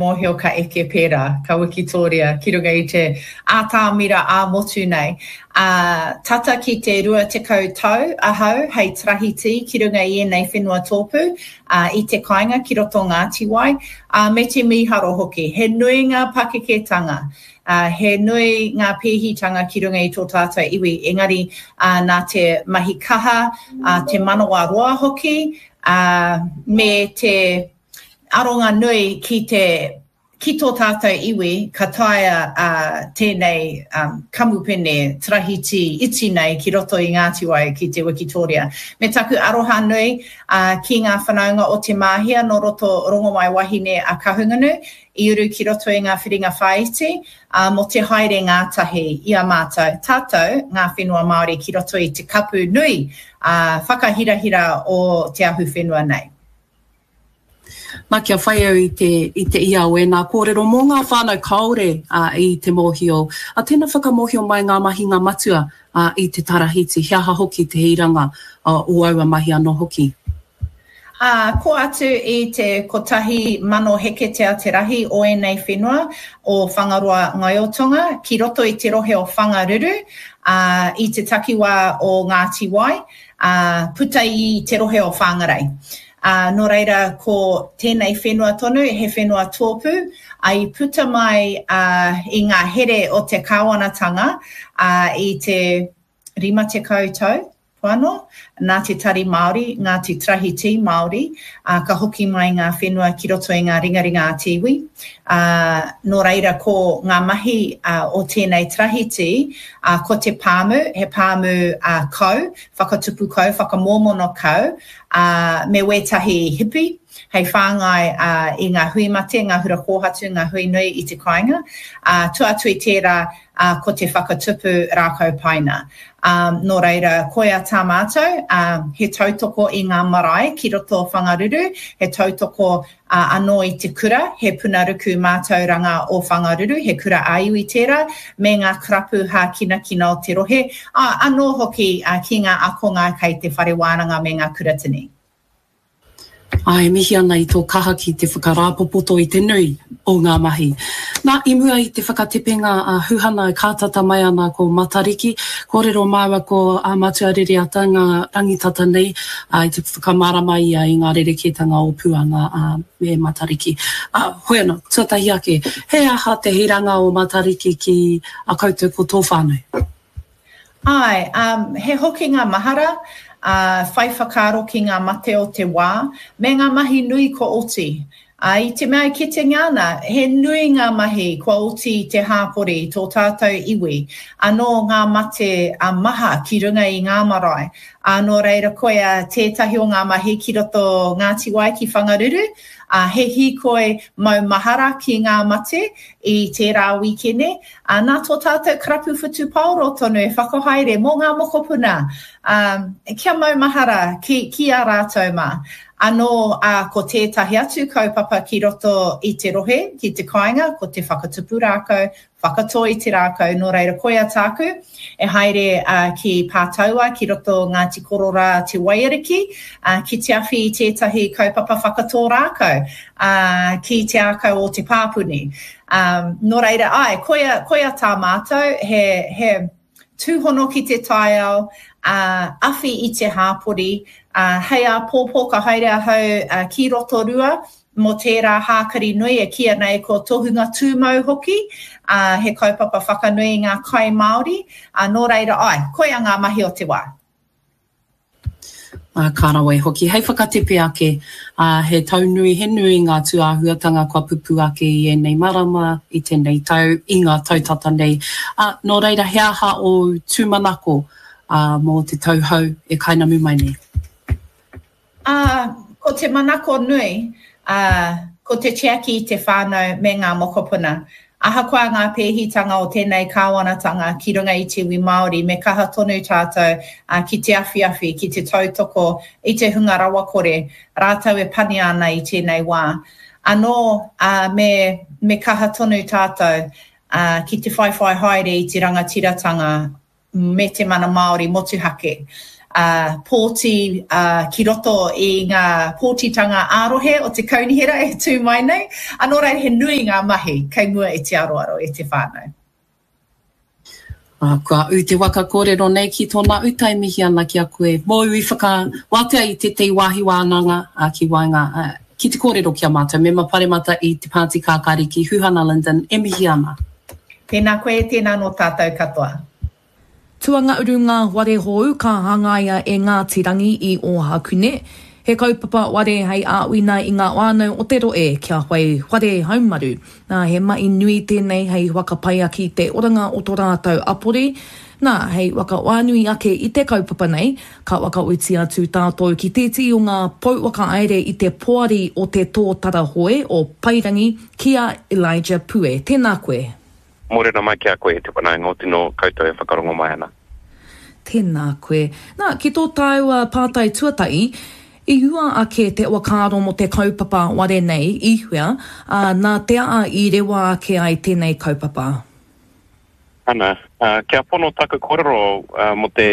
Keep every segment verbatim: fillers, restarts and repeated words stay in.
mōhio ka eke pērā, ka wikitōria ki runga i te ātamira ā-motu nei. Ā, tata ki te rua tekau tau ahau hei tarahiti ki runga i ēnei whenua tōpū, ā, i te kāinga ki roto Ngāti Wai, ā, me te mīharo hoki. He nui ngā pakeketanga, ā, he nui ngā pēhitanga ki runga i tō tātou iwi, engari, ā, nā te mahi kaha, ā, te manawa roa hoki, ā, me te aronga nui ki te ki tō tātou iwi ka taea uh, tēnei um, kamupene tarahiti iti nei ki roto i Ngāti Wai ki te Wikitoria. Me taku aroha nui uh, ki ngā whanaunga o Te Māhia nō roto Rongomai Wahine a Kahungunu i uru ki roto i ngā whiringa whāiti uh, mō te haere ngātahi i a mātou, tātou ngā whenua Māori ki roto i te kapu nui uh, whakahirahira o te ahu whenua nei. Nā, kia whai au i te, i te ia o ēnā kōrero mō ngā whānau kāore uh, i te mōhio. A tēnā whakamōhio mai ngā mahinga matua uh, i te tarahiti, he aha hoki te hiranga uh, o aua mahi anō hoki. Uh, ko atu i te kotahi mano heketea te rahi o ēnei whenua o Whangaroa Ngaiotonga ki roto i te rohe o Whangaruru, uh, i te takiwā o Ngāti Wai, uh, puta i te rohe o Whangarei. Uh, nō reira, ko tēnei whenua tonu, he whenua tōpū, a i puta mai uh, i ngā here o te kāwanatanga uh, i te rima tekau tau, poano, nā te Tari Māori, ngā te Tarahiti Māori, uh, ka hoki mai ngā whenua ki roto i ngā ringaringa a te iwi. Uh, nō reira, ko ngā mahi uh, o tēnei tarahiti, uh, ko te pāmu, he pāmu uh, kau, whakatupu kau, whakamōmono kau, uh, me wētahi hipi, hei whāngai uh, i ngā hui mate, ngā hura kōhatu, ngā hui nui i te kāinga. Uh, tua atu i tērā, uh, ko te whakatupu rākau paina. Um, nō reira, koia tā mātou, uh, he tautoko i ngā marae ki roto o Whangaruru, he tautoko uh, anō i te kura, he punaruku mātauranga o Whangaruru, he kura ā-iwi tērā, me ngā karapu hākinakina o te rohe, uh, anō hoki uh, ki ngā akonga kei te whare wānanga me ngā kuratini. Ai, mihi ana i tō kaha ki te whakarāpopoto i te nui o ngā mahi. Nā, i mua i te whakatepenga a Huhana e kātata mai ana ko Matariki, kōrero māua ko a Matua Rereata ngā rangitata nei a, i te whakamārama ia i ngā rerekētanga o Puanga a, me Matariki. A, hoi anō, tuatahi ake, he aha te hiranga o Matariki ki a koutou ko tō whānau? Ai, um, he hokinga mahara, uh, whai whakaaro ki ngā mate o te wā, me ngā mahi nui kua oti. Uh, i te mea e kitenga ana, he nui ngā mahi kua oti i te hāpori, tō tātou iwi, anō ngā mate a maha ki runga i ngā marae. Uh, nō reira koia tētahi o ngā mahi ki roto Ngāti Wai ki Whangaruru, uh, he hīkoi mau mahara ki ngā mate i tērā wīkene. Uh, nā tō tātou karapu whutupaoro tonu e whakahaere mō ngā mokopuna, um, kia mau mahara ki, ki a rātou mā. Anō, uh, ko tētahi atu kaupapa ki roto i te rohe, ki te kāinga, ko te whakatupu rākau, whakatō i te rākau, nō reira koia tāku, e haere uh, ki Pātaua, ki roto Ngāti Kororā Te Waiariki, uh, ki te awhi i tētahi kaupapa whakatō rākau, uh, ki te ākau o te pāpuni. Um, nō reira, ai, koia, koia tā mātou, he, he tūhono ki te taiao, uh, awhi i te hāpori, uh, hei āpōpō ka haere ahau uh, ki Rotorua, mō tērā hākari nui e kīia nei ko Tohunga Tūmau hoki, uh, he kaupapa whakanui i ngā kai Māori, uh, nō reira ai, koia ngā mahi o te wā. Uh, ka rawe hoki. Hei whakatepe ake, uh, he tau nui, he nui ngā tūāhuatanga kua pupu ake i ēnei marama, i tēnei tau, i ngā tau tata nei. Uh, nō reira, he aha o tūmanako uh, mō te tau hou e kainamu mai nei? Uh, ko te manako nui, uh, ko te tiaki i te whānau me ngā mokopuna. Ahakoa ngā pēhitanga o tēnei kāwanatanga ki runga i te iwi Māori, me kaha tonu tātou uh, ki te awhiawhi, ki te tautoko i te hunga rawakore, rātou e pania ana i tēnei wā. Anō, uh, me, me kaha tonu tātou uh, ki te whaiwhai haere i te rangatiratanga me te mana Māori motuhake. pōti ki roto i ngā pōtitanga ā-rohe o te kaunihera e tū mai nei. Nō reira, he nui ngā mahi kei mua i te aroaro e te whānau. Ā, kua ū te waka kōrero nei ki tōna uta e mihi ana ki a koe mōu i whakawātea i tētehi wāhi wānanga ki waenga ki te kōrero ki a mātou. Mema Paremata i te Pāti Kākāriki, Huhana Lyndon, e mihi ana. Tēnā koe, tēnā nō tātou katoa. Tuangauru ngā whare hou ka hangaia e Ngāti Rangi i Ōhakune. He kaupapa ware hei āwina i ngā whānau o te rohe kia whai whare haumaru. Nā, he mahi nui tēnei hei whakapai ake i te oranga o tō rātou apori. Nā, hei whakawhānui ake i te kaupapa nei, ka whakauti atu tātou ki tētehi o ngā pou whakahaere i te poari o te Tōtara Hoe o Paerangi, ki a Elijah Pue. Tēnā koe. Mōrena mai ki a koe e te whanaunga o tino koutou e whakarongo mai ana. Tēnā koe. Nā, ki tō tāua pātai tuatahi, i hua ake te whakaaro mō te kaupapa ware nei i hea, ā, nā te aha i rewa ake ai tēnei kaupapa? Ana, kia pono taku kōrero mō te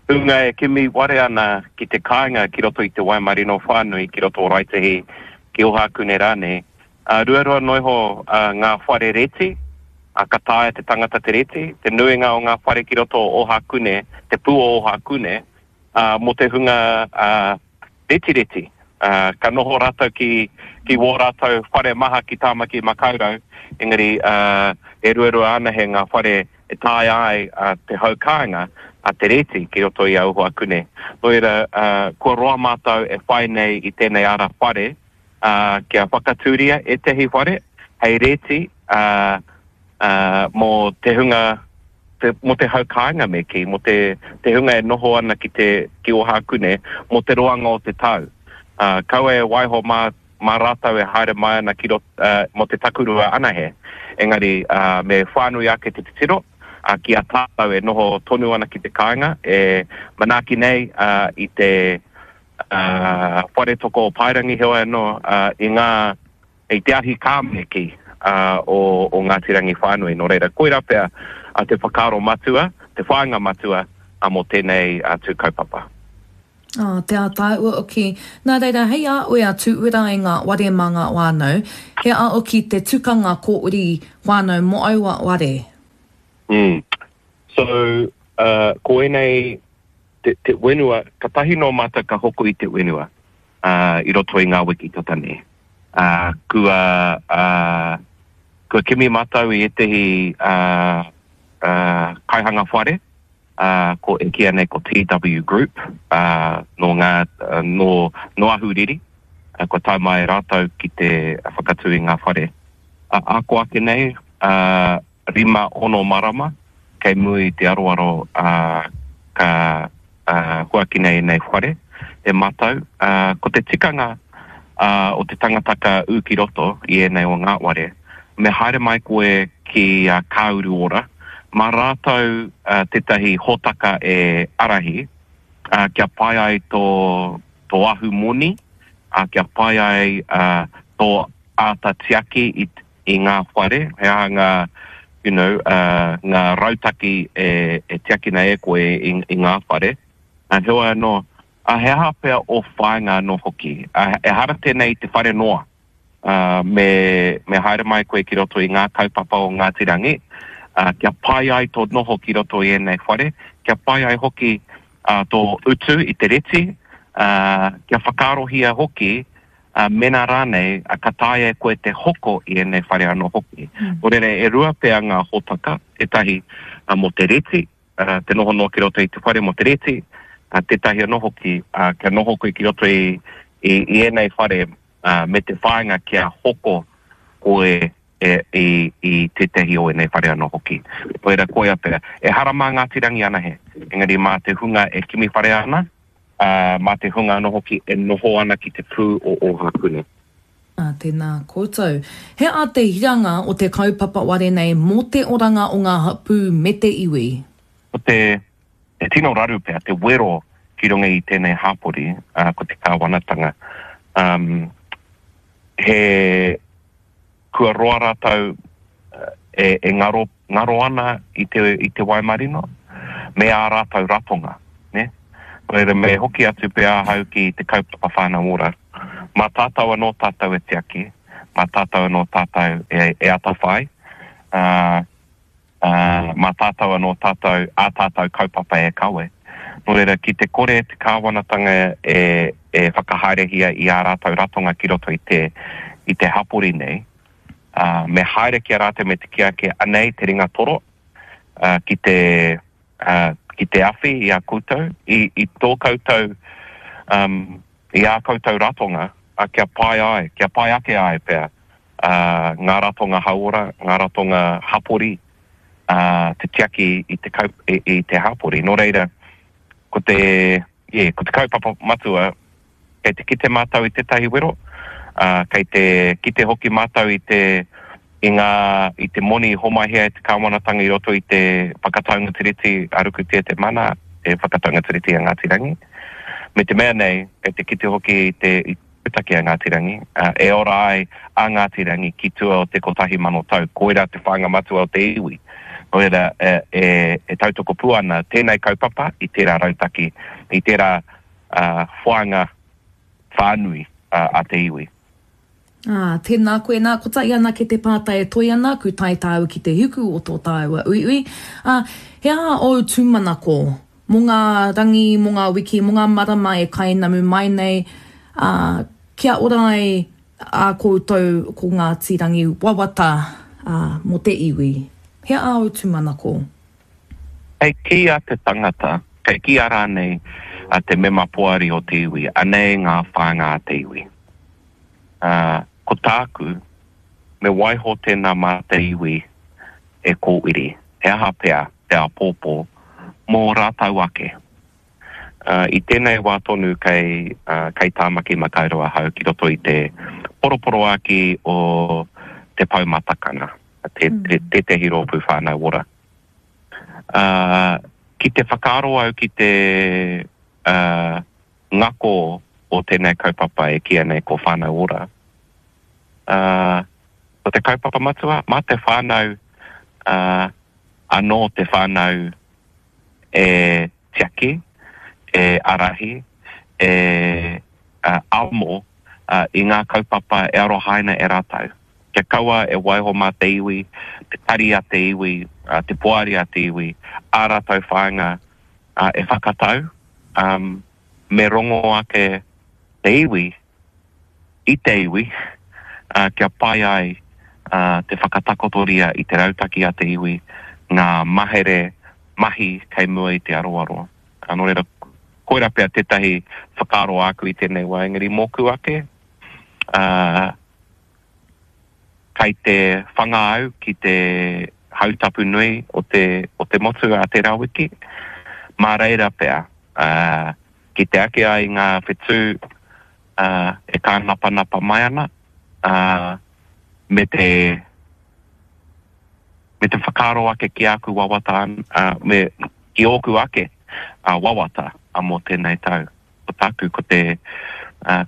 hunga e kimi ware ana ki te kāinga ki roto i te Waimarino whānui, ki roto o Raetihi, ki Ohakune rānei, ruarua noa iho ngā whare reti, ka taea te tangata te reti, te nuinga o ngā whare ki roto o Ohakune, te pū o Ohakune, mō te hunga retireti. Ka noho rātou ki, ki wō rātou whare maha ki Tāmaki Makaurau, engari e ruarua anahe ngā whare e taea ai te hau kāinga, te reti ki roto i a Ohakune. Nō reira, kua roa mātou e whai nei i tēnei ara whare, kia whakatūria ētehi whare hei reti, mō te hunga, te, mō te hau kāinga me kī, mō te, te hunga e noho ana ki te, ki Ohakune, mō te roanga o te tau. Uh, kaua e waiho mā, mā rātou e haere mai ana ki rot, uh, mō te takurua anahe. Engari, uh, me whānui ake te titiro, uh, ki a tātou e noho tonu ana ki te kāinga, e manaaki nei uh, i te uh, whare toko o Paerangi, heoi anō, uh, i ngā, i te ahi kā me kī, uh, o, o Ngāti Rangi whānui. Nō reira, koirā pea uh, te whakaaro matua, te whāinga matua uh, mō tēnei uh, tū kaupapa. Oh, te ātaahua hoki. Nā reira, hei a oe a tūhura i ngā ware mā ngā whānau, he a hoki te tukanga kōuri whānau mō aua ware? Mm. So, uh, ko ēnei te, te whenua, katahi nō mātou ka hoko i te whenua uh, i roto i ngā wiki tata nei. Uh, kua, uh, kua kimi mātou i ētehi uh, uh, kaihanga whare, uh, ko e kīia nei ko T W Group, uh, nō ngā, uh, nō, nō Ahuriri, uh, kua tae mai rātou ki te whakatū i ngā whare. Uh, ako ake nei, uh, rima ono marama, kei mua i te aroaro uh, ka uh, huaki nei nei whare, e mātou. Uh, ko te tikanga uh, o te tangata ka ū ki roto i ēnei o ngā ware, me haere mai koe ki uh, Kāuru Ora, mā rātou uh, tētahi hōtaka e arahi, uh, kia pai ai tō, tō ahu moni, uh, kia pai ai uh, tō āta tiaki i, i ngā whare, he aha ngā, you know, uh, ngā rautaki e, e tiakina e koe i, i ngā whare. Uh, heoi anō, uh, he aha pea o whāinga anō hoki. Uh, ehara tēnei i te whare noa. Uh, me, me haere mai koe ki roto i ngā kaupapa o Ngāti Rangi, uh, kia pai ai tō noho ki roto i ēnei whare, kia pai ai hoki uh, tō utu i te reti, uh, kia whakaarohia hoki, uh, mena rānei, uh, ka taea e koe te hoko i ēnei whare anō hoki. Mm. Nō reira, e rua pea ngā hōtaka, tētahi uh, mō te reti, uh, te noho noa ki roto i te whare mō te reti, uh, tētahi anō hoki, uh, kia noho koe ki roto i, i, i ēnei whare, uh, me te whāinga kia hoko koe e, i, i tētahi o ēnei whare anō hoki. Nō reira, koia pea. Ehara mā Ngāti Rangi anahe, engari mā te hunga e kimi whare ana, uh, mā te hunga anō hoki e noho ana ki te pū o Ohakune. Ā, tēnā koutou. He aha te hiranga o te kaupapa ware nei mō te oranga o ngā hapū me te iwi? Ko te, te tino raru pea, te wero ki runga i tēnei hapori, uh, ko te kāwanatanga. Um, he kua roa rātou e, e ngaro, ngaro ana i te, i te Waimarino, me ā rātou ratonga. Ne? Nō reira, me hoki atu pea ahau ki te kaupapa Whānau Ora. Mā tātou anō tātou e tiaki, mā tātou anō tātou e, e atawhai, ā, ā, mā tātou anō tātou, ā tātou kaupapa e kawe. Nō reira, ki te kore te kāwanatanga e, e whakahaerehia i ā rātou ratonga ki roto i te, i te hapori nei, ā, me haere ki a rātou me te kī ake, anei te ringa toro, ā, ki te, ā, ki te awhi i a koutou, i, i tō koutou, um, i ā koutou ratonga, ā, kia pai ai, kia pai ake ai pea, ā, ngā ratonga hauora, ngā ratonga hapori, ā, te tiaki i te, kau, i, i te hapori. Nō reira, ko te, yeah, ko te kaupapa matua, kei te kite mātou i tētahi wero, ā, kei te kite hoki mātou i te, i ngā, i te moni i homaihia e te kāwanatanga i roto i te whakataunga tiriti a Rukutia Te Mana, te whakataunga tiriti a Ngāti Rangi. Me te mea nei, kei te kite hoki i te, i te pūtake a Ngāti Rangi, ā, e ora ai a Ngāti Rangi ki tua o te kotahi mano tau. Koirā te whāinga matua o te iwi. Nō reira, e, e, e tautoko pū ana tēnei kaupapa i tērā rautaki, i tērā, ā, whāinga whānui a te iwi. Ā, tēnā koe, nā, kotahi anake te pātai e toe ana, ku tae tāua ki te hiku o tō tāua uiui, ā, he aha ōu tūmanako mō ngā rangi, mō ngā wiki, mō ngā marama e kainamu mai nei, ā, kia ora ai ā koutou ko Ngāti Rangi wawata, ā, mō te iwi? He aha ōu tūmanako? Kei kī a te tangata, kei kī a rānei a te mema poari o te iwi, anei ngā whāinga a te iwi. Ā, ko tāku, me waiho tēnā mā te iwi e kōwiri, he aha pea te āpōpō mō rātou ake. Ā, i tēnei wā tonu kei, ā, kei Tāmaki Makaurau ahau ki roto i te poroporoākī o Te Pou Matakana, te, te, tētehi rōpū whānau ora. Ā, ki te whakaaro au ki te, ā, ngako o tēnei kaupapa e kīia nei ko Whānau Ora, ā, ko te kaupapa matua, mā te whānau, ā, anō te whānau e tiaki, e ārahi, e, ā, amo, ā, i ngā kaupapa e arohaina e rātou. Kia kaua e waiho mā te iwi, te tari a te iwi, te poari a te iwi, ā rātou whāinga e whakatau, me rongo ake te iwi i te iwi kia pai ai te whakatakotoria i te rautaki a te iwi, ngā mahere mahi kei mua i te aroaro. Nō reira, koirā pea tētahi whakaaro āku i tēnei wā, engari mōku ake, Kei te whanga au ki te hautapu nui o te, o te motu a tērā wiki. Mā reira pea, ā, kite ake ai ngā whetū, ā, e kānapanapa mai ana, ā, me te, me te whakaaro ake ki āku wawata, ā, me, ki ōku ake, ā, wawata, ā, mō tēnei tau. Ko tāku, ko te,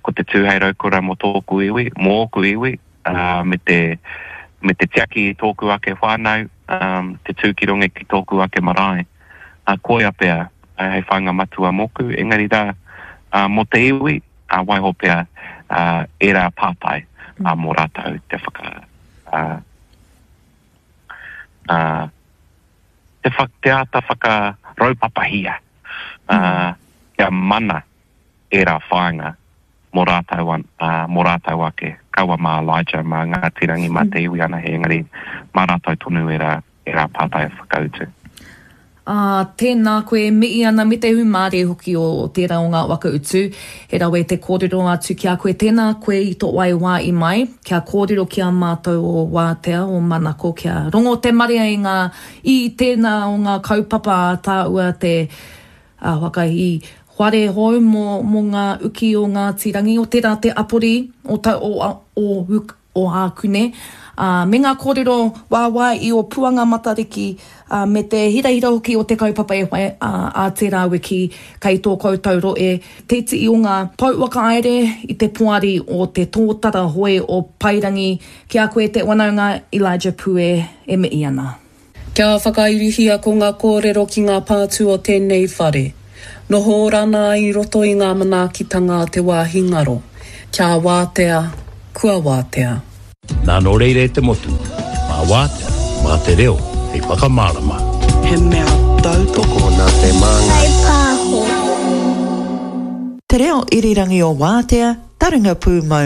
ko te tū hei raukura mō tōku iwi, mō ōku iwi, me te, me te tiaki i tōku ake whānau, te tū ki runga ki tōku ake marae. Koia pea hei whāinga matua mōku, engari rā, mō te iwi, waiho pea ērā pātai mō rātou te whaka, te, te āta whakaraupapahia. ā, kia mana ērā whāinga mō rātou, ā, mō rātou ake, kaua mā Elijah, mā Ngāti Rangi, mā te iwi anahe, engari mā rātou tonu ērā, ērā pātai e whakautu. Ā, tēnā koe e mihi ana me te hūmārie hoki o tērā o ngā waka utu. He rawe te kōrero atu ki a koe, tēnā koe i tō wai wā i mai, kia kōrero ki a mātou o Wātea, o Manako, kia rongo te marea i ngā I tēnā o ngā kaupapa a tāua te whakahī whare hou mō mō ngā uki o Ngāti Rangi, o tērā te apori o ta o o o Ākune, ā, me ngā kōrero wāwāi i o Puanga Matariki, ā, me te hirahira hoki o te kaupapa e whai ā ā tērā wiki kei tō koutou rohe te tii o ngā pou whakahaere i te poari o te tōtara hoe o Paerangi Ki a koe te wanaunga Elijah Pue e mihi ana. Kia whakairihia ko nga korero ki nga pātu o tenei whare. Noho ora ana i roto i ngā manaakitanga a te wāhi ngaro. Kia wātea, kua wātea. Nā nō reira e te motu, mā Wātea, mā te reo hei whakamārama. He mea tautoko nā te Māngai. Pāho. Te Reo Irirangi o Wātea, Taringa Pūmau.